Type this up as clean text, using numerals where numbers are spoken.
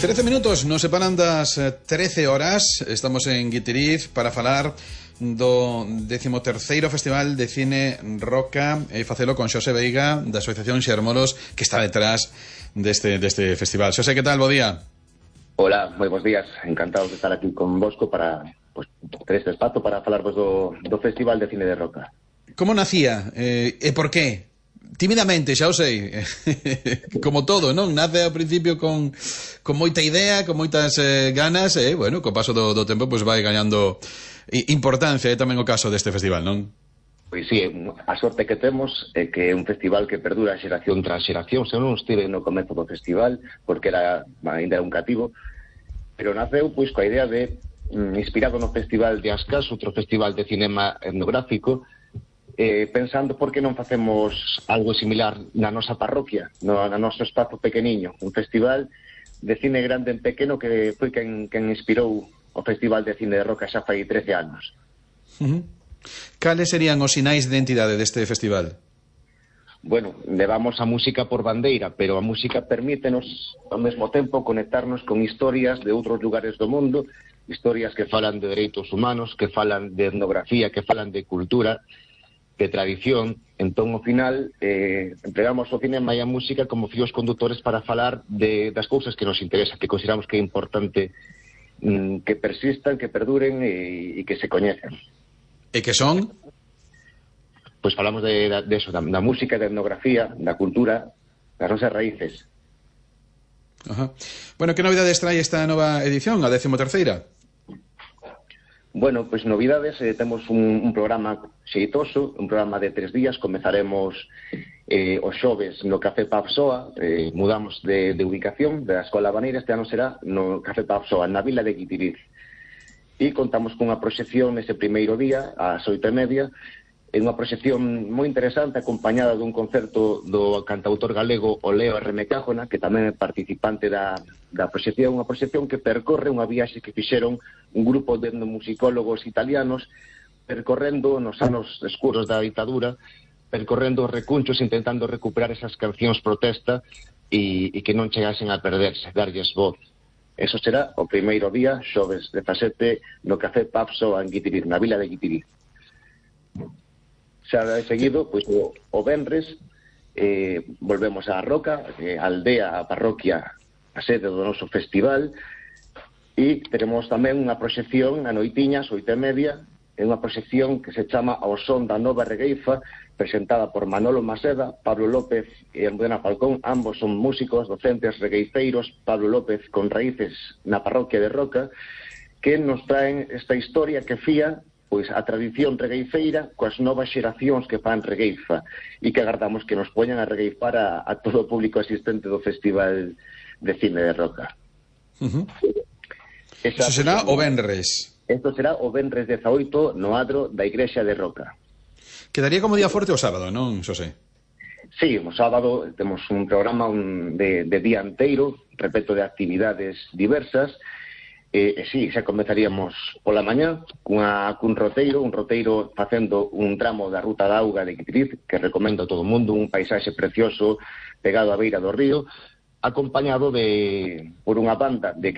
13 minutos nos separan das 13 horas. Estamos en Guitiriz para falar do 13º Festival de Cine Roca e facelo con Xosé Veiga da Asociación Xermolos, que está detrás deste festival. Xosé, que tal? Bo día. Hola, moi bons días. Encantado de estar aquí con vosco para ter este espazo para falarvos do Festival de Cine de Roca. Como nacía? E por qué? Tímidamente, xa o sei. Como todo, non? Nace ao principio con moita idea, con moitas ganas, e, bueno, co paso do tempo, pois vai gañando importancia. É tamén o caso deste festival, non? Pois sí, a sorte que temos é que é un festival que perdura xeración tras xeración. Se non estive no comezo do festival, porque ainda era un cativo, pero naceu pois coa idea de, inspirado no Festival de Ascas, outro festival de cinema etnográfico, pensando por que non facemos algo similar na nosa parroquia, no noso espazo pequeniño, un festival de cine grande en pequeno que foi quen inspirou o Festival de Cine de Roca xa fai 13 anos. Cales serían os sinais de identidade deste festival? Bueno, levamos a música por bandeira, pero a música permítenos ao mesmo tempo conectarnos con historias de outros lugares do mundo, historias que falan de dereitos humanos, que falan de etnografía, que falan de cultura, de tradición. Entón, ao final, empregamos o cinema e a música como fíos conductores para falar das cousas que nos interesan, que consideramos que é importante que persistan, que perduren e que se coñecen. E que son? Pois falamos de eso, da música, da etnografía, da cultura, das nosas raíces. Ajá. Bueno, que novidades trae esta nova edición, a 13ª? Bueno, pois novidades, temos un programa xeitoso, un programa de 3 días. Comezaremos os xoves no Café Papsoa, mudamos de ubicación da Escola Baneira, este ano será no Café Papsoa, na vila de Guitiriz. E contamos cunha proxección nese primeiro día, ás 8:30, é unha proxección moi interesante, acompañada dun concerto do cantautor galego o Leo R. Cájona, que tamén é participante da proxección, unha proxección que percorre unha viaxe que fixeron un grupo de etnomusicólogos italianos, percorrendo nos anos escuros da ditadura, percorrendo os recunchos, intentando recuperar esas cancións protesta e que non chegasen a perderse, darlles voz. Eso será o primeiro día, xoves 17, no Café Papso en Guitiriz, na vila de Guitiriz. Xa de seguido, pois o venres, volvemos á Roca, a aldea, a parroquia, a sede do noso festival, e teremos tamén unha proxección a noitiñas, 8:30, é unha proxección que se chama Ao son da nova regueifa, presentada por Manolo Maseda, Pablo López e Almudena Falcón. Ambos son músicos, docentes, regueifeiros. Pablo López con raíces na parroquia de Roca, que nos traen esta historia que fía pois a tradición regueifeira coas novas xeracións que fan regueifa, e que agardamos que nos poñan a regueifar a todo o público asistente do Festival de Cine de Roca. Eso será o venres. Isto será o venres 18 no adro da Igrexa de Roca. Quedaría como día forte o sábado, non, Xosé? Sí, o sábado temos un programa de día inteiro, repleto de actividades diversas. Sí, xa comezaríamos pola mañá cun roteiro facendo un tramo da Ruta da Auga de Guitiriz, que recomendo a todo o mundo, un paisaxe precioso pegado á beira do río, acompañado por unha banda de